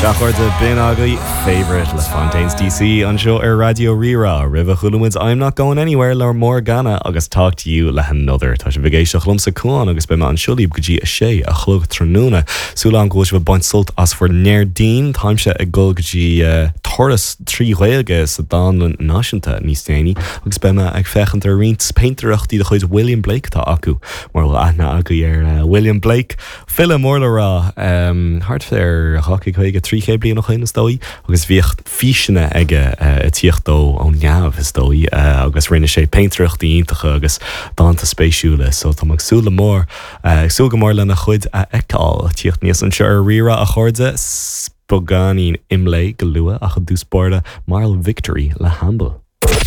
Sea, a chairde, b'in agaibh Favourite le Fontaines DC anseo ar Raidió Rí-Rá. Roimhe chuala muid I'm Not Going Anywhere le Morgana agus Talk To You le hAnother. Tá sibh ag éisteacht liomsa, Cuán, agus beidh mé anseo libh go dtí a sé a chlog tráthnóna. Súil agam go bhfuil sibh ag baint sult as bhur nDéardaoin. Táimse ag dul go dtí turas 3 Ghaeilge sa Dánlann Náisiúnta níos déanaí agus beidh mé ag féachaint ar roinnt péintéireachtaí de chuid William Blake atá acu. Mura bhfuil aithne agaibh ar William Blake, file mór le rá, thart ar 250, 300 bliain ó shin is dóigh, agus bhíodh físeanna aige ag tíocht dó ó neamh is dóigh agus rinne sé péintéireachtaí iontacha agus dánta spéisiúla so tá mé ag súil le mór, ag súil go mór lena chuid a fheiceáil tíocht aníos anseo ar Rí-Rá a chairde, beagáinín imlé go luath ach i dtús báire Mile Victory le Hamble.